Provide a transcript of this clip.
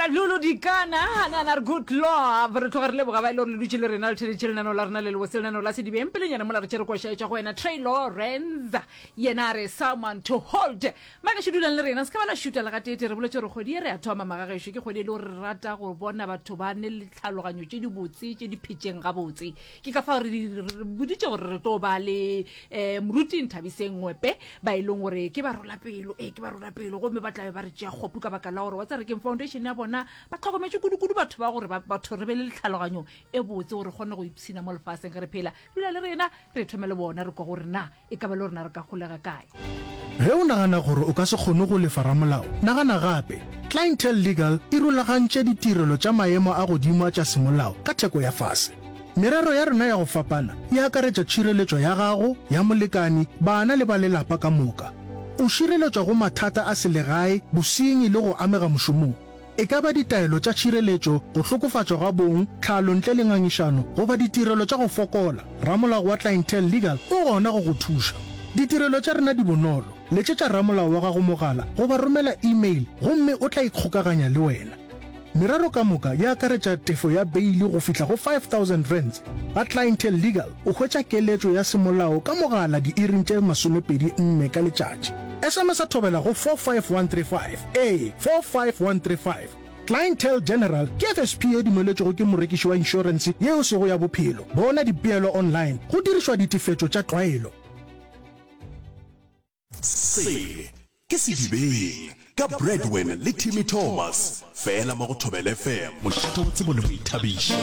Lulu Dikana, a na re good love. Re tloga re leboga ba e le gore le dutše le rena le theletše lenaneo la rena le lebose lenaneo la Sedibeng. Pelenyana mola re tšere koša e tšwa go wena Trey Lawrence. Yena a re someone to hold. Magešo dulang le rena, se ka ba la šuta le gateetee. Re boletše gore kgwedi ye re a thoma magagešo ke kgwedi e le gore re rata go bona batho ba ne le tlhaloganyo tše dibotse tše di phetšeng gabotse. Ke ka fao re re boditše gore re tlo ba le um moruti Nthabiseng Ngwepe ba e leng gore ke barolapelo, ee ke barolapelo gomme ba tlabe ba re tšea kgopu ka baka la gore wa tseba re keng foundation ya bona ba hlokometše kudu-kudu batho ba gore batho re be le tlhaloganyo e botse gore re kgone go ipshina mo lefaseng ge re phela. Dula le rena re thome le bona re kwa gore na e ka ba le rena re ka holega kae. Ge o nagana gore o ka se kgone go lefa ramolao, nagana gape. Clientele Legal e rulagantše ditirelo tša maemo a godimo a tša semolao ka theko ya fase. Merero ya rena ya go fapana e akaretša tšhireletšo ya gago, ya molekani, bana le ba lelapa ka moka. O šireletšwa go mathata a selegae, bosenyi le go amega mošomong. E ka ba ditaelo tša tšhireletšo, go hlokofatšwa ga bong, tlhalo ntle le ngangišano, goba ditirelo tša go fokola, ramolao wa Clientele Legal o gona go go thuša. Ditirelo tša rena di bonolo, letšetša ramolao wa gago mogala goba romela e-mail gomme o tla ikgokaganya le wena. Merero ka moka e akaretša tefo ya beili go fihla go R5000. Ga Clientele Legal o hwetša keletšo ya semolao ka mogala diiring tše 24 ka letšatši. SMS-a thobela go 45135. Ee, 45135. Clientele General ke FSP ye dumeletšwego ke morekiši wa inšorense ye e sego ya bophelo. Bona dipeelo online go dirišwa ditefetšo tša tlwaelo. Se ke Sedibeng ka Bradwin le Timmy Thomas, fela mo go Thobela FM, mošate wa tsebo le boithabišo.